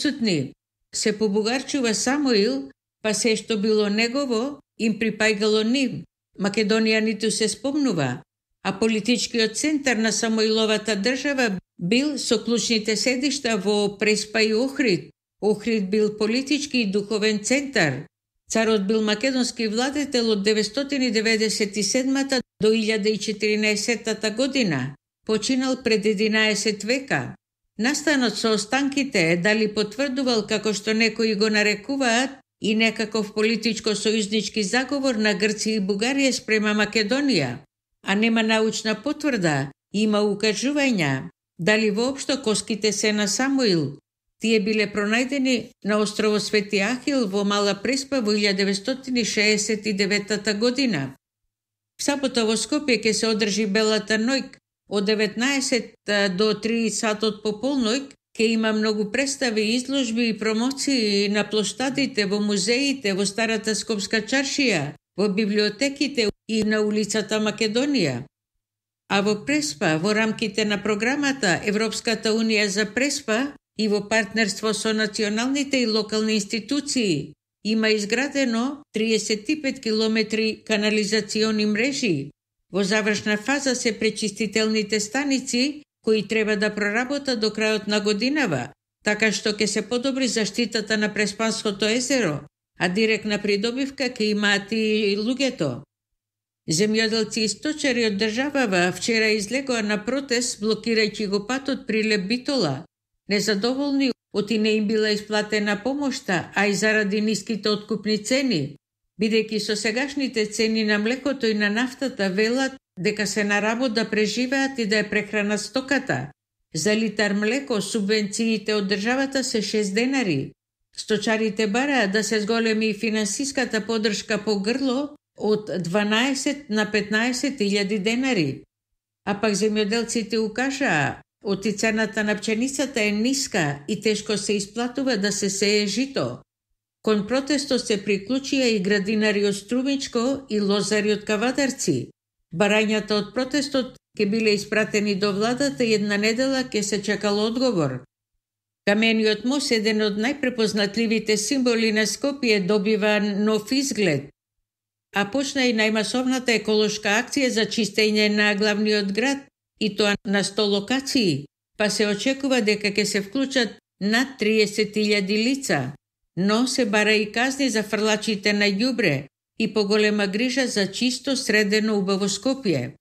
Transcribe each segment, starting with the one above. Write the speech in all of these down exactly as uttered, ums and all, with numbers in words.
присутни. Се побугарчува Самуил, па се што било негово, им припајгало нив. Македонијаните се спомнува, а политичкиот центар на Самуиловата држава бил со клучните седишта во Преспа и Охрид. Охрид бил политички и духовен центар. Царот бил македонски владетел од деветстотини деветдесет и седмата до илјада и четиринаесетта година. Починал пред единаесет века. Настанот со останките дали потврдувал, како што некои го нарекуваат, и некаков политичко-сојузнички заговор на Грција и Бугарија спрема Македонија, а нема научна потврда, има укажувања. Дали воопшто коските се на Самуил? Тие биле пронајдени на острово Свети Ахил во Мала Преспа во илјада деветстотини шеесет и девета година. В сабота во Скопје ќе се одржи Белата ноќ од деветнаесет до три сатот пополноќ. Ке има многу представи, изложби и промоции на плоштадите, во музеите, во Старата Скопска чаршија, во библиотеките и на улицата Македонија. А во Преспа, во рамките на програмата Европската унија за Преспа и во партнерство со националните и локални институции, има изградено триесет и пет километри канализациони мрежи. Во завршна фаза се пречистителните станици, кои треба да проработат до крајот на годинава, така што ќе се подобри заштитата на Преспанското езеро, а директна придобивка ќе имаат и луѓето. Земјоделци и сточари од државава вчера излегоа на протест, блокирајќи го патот Прилеп Битола. Незадоволни оти не им била исплатена помошта, а и заради ниските откупни цени, бидејќи со сегашните цени на млекото и на нафтата велат дека се на работ да преживеат и да ја прехранат стоката. За литар млеко субвенциите од државата се шест денари. Сточарите бараат да се зголеми и финансиската поддршка по грло од дванаесет на петнаесет илјади денари. А пак земјоделците укажаа, оти цената на пченицата е ниска и тешко се исплатува да се сее жито. Кон протестот се приклучија и градинари од Струмичко и лозари од Кавадарци. Барањата од протестот ќе биле испратени до владата и една недела ќе се чекал одговор. Камениот мост, еден од најпрепознатливите символи на Скопје, добива нов изглед. А почна и најмасовната еколошка акција за чистење на главниот град, и тоа на сто локации, па се очекува дека ќе се вклучат над триесет илјади лица, но се бара и казни за фрлачите на ѓубре и поголема грижа за чисто, средено, убаво Скопје.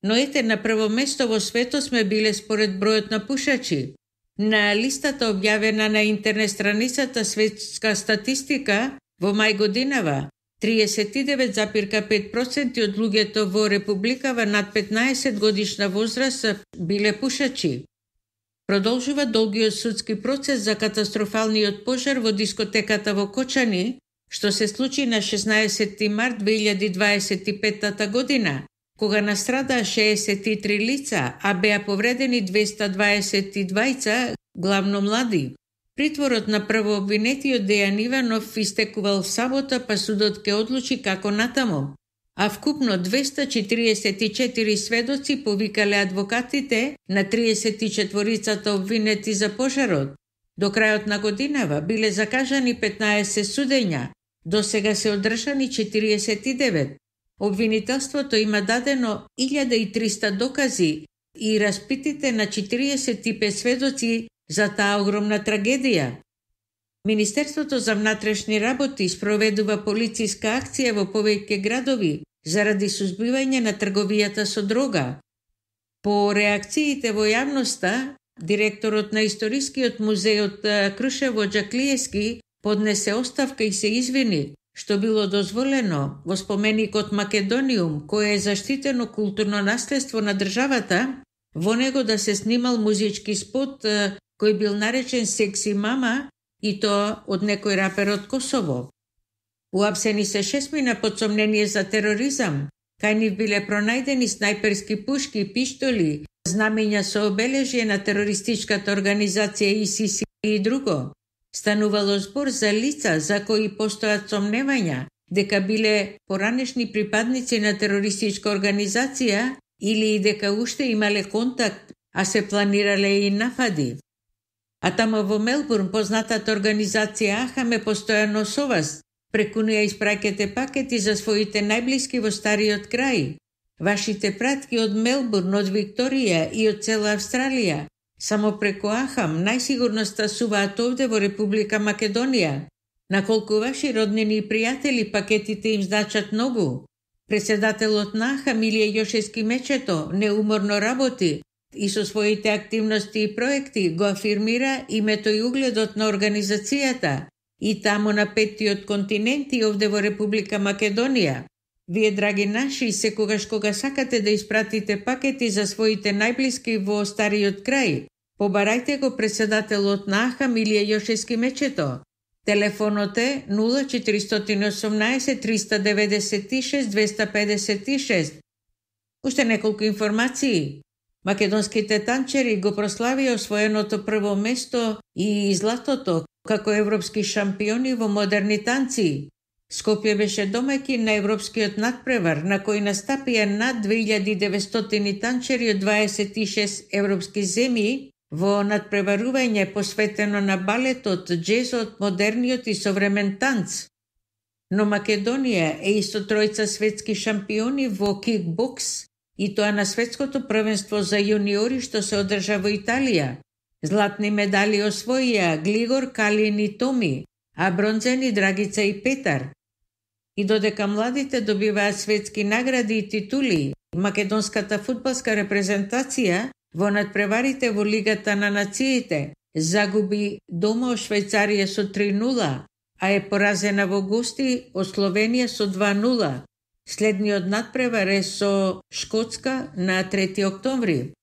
Но ете, на прво место во светот сме биле според бројот на пушачи. На листата објавена на интернет страницата Светска статистика во мај годинава, триесет и девет запирка пет проценти од луѓето во републикава над петнаесет годишна возраст биле пушачи. Продолжува долгиот судски процес за катастрофалниот пожар во дискотеката во Кочани, што се случи на шеснаесети март две илјади дваесет и петта година, кога настрадаа шеесет и три лица, а беа повредени двеста дваесет и двајца, главно млади. Притворот на првообвинетиот Дејан Иванов истекувал в сабота, па судот ќе одлучи како натаму. А вкупно двеста четириесет и четири сведоци повикале адвокатите на триесет и четворицата обвинети за пожарот. До крајот на годинава биле закажани петнаесет судења, до сега се одржани четириесет и девет. Обвинителството има дадено илјада и триста докази и распитите на четириесет и пет сведоци за таа огромна трагедија. Министерството за внатрешни работи спроведува полициска акција во повеќе градови заради сузбивање на трговијата со дрога. По реакциите во јавноста, директорот на Историскиот музеј од Крушево Џаклиевски поднесе оставка и се извини што било дозволено во споменикот Македониум, кој е заштитено културно наследство на државата, во него да се снимал музички спот кој бил наречен Секси мама, и тоа од некој рапер од Косово. Уапсени се шестмина под сомнение за тероризам, кај нив биле пронајдени снајперски пушки, пиштоли, знамења со обележје на терористичката организација ИСИС и друго. Станувало збор за лица за кои постојат сомневања дека биле поранешни припадници на терористичка организација или и дека уште имале контакт, а се планирале и напади. А тамо во Мелбурн познатата организација АХАМ е постојано со вас. Преку неја испраќате пакети за своите најблиски во стариот крај. Вашите пратки од Мелбурн, од Викторија и од цела Австралија, само преку АХАМ најсигурно стасуваат овде во Република Македонија. На колку ваши роднини и пријатели пакетите им значат многу. Председателот на АХАМ Илија Јошевски Мечето неуморно работи и со своите активности и проекти го афирмира името и угледот на организацијата и таму на петтиот континент и овде во Република Македонија. Вие, драги наши, секогаш кога сакате да испратите пакети за своите најблиски во стариот крај, побарајте го председателот на АХАМ Илија Јошевски Мечето. Телефонот е нула четиристотини и осумнаесет триста деветдесет и шест двеста педесет и шест. Уште неколку информации. Македонските танчери го прославија освоеното прво место и златото како европски шампиони во модерни танци. Скопје беше домаќин на европскиот надпревар, на кој настапија над две илјади деветстотини танчери од дваесет и шест европски земји во надпреварување посветено на балетот, джезот, модерниот и современ танц. Но Македонија е исто тројца светски шампиони во кикбокс, и тоа на светското првенство за јуниори што се одржа во Италија. Златни медали освоија Глигор, Калин и Томи, а бронзени Драгица и Петар. И додека младите добиваат светски награди и титули, македонската фудбалска репрезентација во надпреварите во Лигата на нациите загуби дома од Швајцарија со три нула, а е поразена во гости од Словенија со два нула. Следниот надпревар е со Шкотска на трети октомври.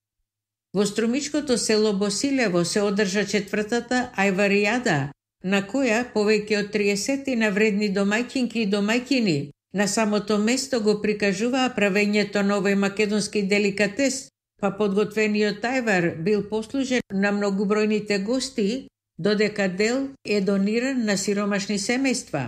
Во струмичкото село Босилево се одржа четвртата Ајваријада, на која повеќе од триесет навредни домаќинки и домаќини на самото место го прикажуваа правењето на овој македонски деликатес, па подготвениот ајвар бил послужен на многобројните гости, додека дел е дониран на сиромашни семејства.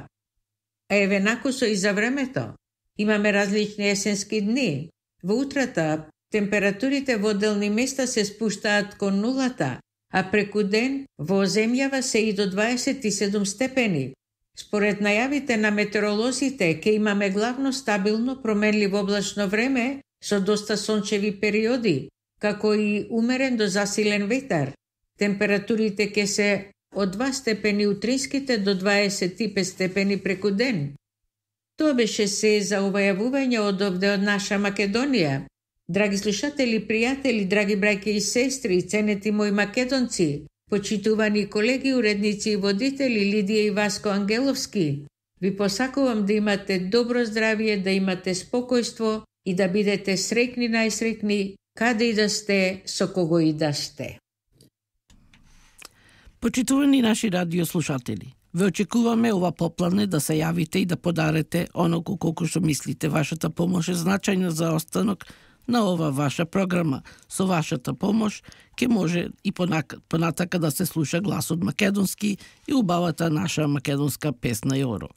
А еве накусо и за времето. Имаме различни есенски дни. Во утрата температурите во одделни места се спуштаат кон нулата, а преку ден во земјава се и до дваесет и седум степени. Според најавите на метеоролозите, ке имаме главно стабилно променливо облачно време со доста сончеви периоди, како и умерен до засилен ветар. Температурите ке се од два степени утринските до дваесет и пет степени преку ден. Тоа беше се за ова јавување од овде од наша Македонија. Драги слушатели, пријатели, драги браќа и сестри, ценети мои македонци, почитувани колеги, уредници и водители Лидија и Васко Ангеловски, ви посакувам да имате добро здравје, да имате спокојство и да бидете среќни најсреќни, каде и да сте, со кого и да сте. Почитувани наши радиослушатели, ве очекуваме ова попладне да се јавите и да подарете оноку колку што мислите. Вашата помош е значајна за останок на ова ваша програма. Со вашата помош ќе може и понатака да се слуша гласот македонски и убавата наша македонска песна Јоро.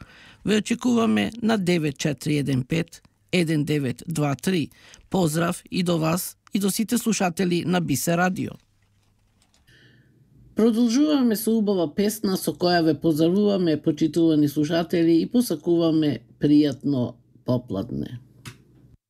Ве очекуваме на девет четири еден пет еден девет два три. Поздрав и до вас и до сите слушатели на Бисе радио. Продолжуваме со убава песна со која ве поздравуваме, почитувани слушатели, и посакуваме пријатно попладне.